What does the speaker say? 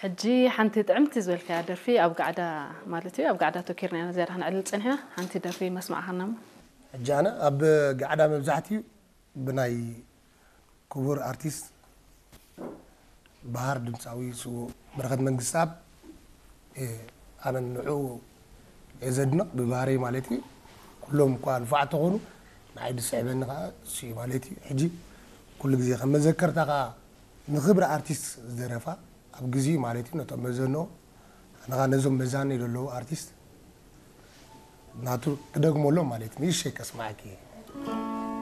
ሕጂ ሓንቲ ጥዕምቲ ዝበልካያ ደርፊ ኣብ ጋዕዳ ማለት እዩ ኣብ ጋዕዳ ተኪርና ኢና ዝያዳ ክነዕልል ጸኒሕና ሓንቲ ደርፊ መስማዕካና እሞ። ሕጂ ኣነ ኣብ ጋዕዳ መብዛሕትኡ ብናይ ክቡር ኣርቲስት በሃር ድምፃዊ ስዉእ በረኸት መንግስተኣብ ኣነ ንዑ እየ ዘድንቕ ብባህረይ ማለት እዩ። ኩሎም እኳ ንፉዓት ተኾኑ ንዓይ ዝስዕበኒ ከዓ እሱ እዩ ማለት እዩ። ሕጂ ኩሉ ግዜ ከም መዘከርታ ከዓ ንክብሪ ኣርቲስት ዝደረፋ ኣብ ግዜኡ ማለት እዩ ነቶም መዘንኦ ኣነ ከዓ ነዞም መዛነይ ዘለዉ ኣርቲስት ናቱ ክደግመሎም ማለት እዩ። ንእሽተይ ከስማዓኪ እየ።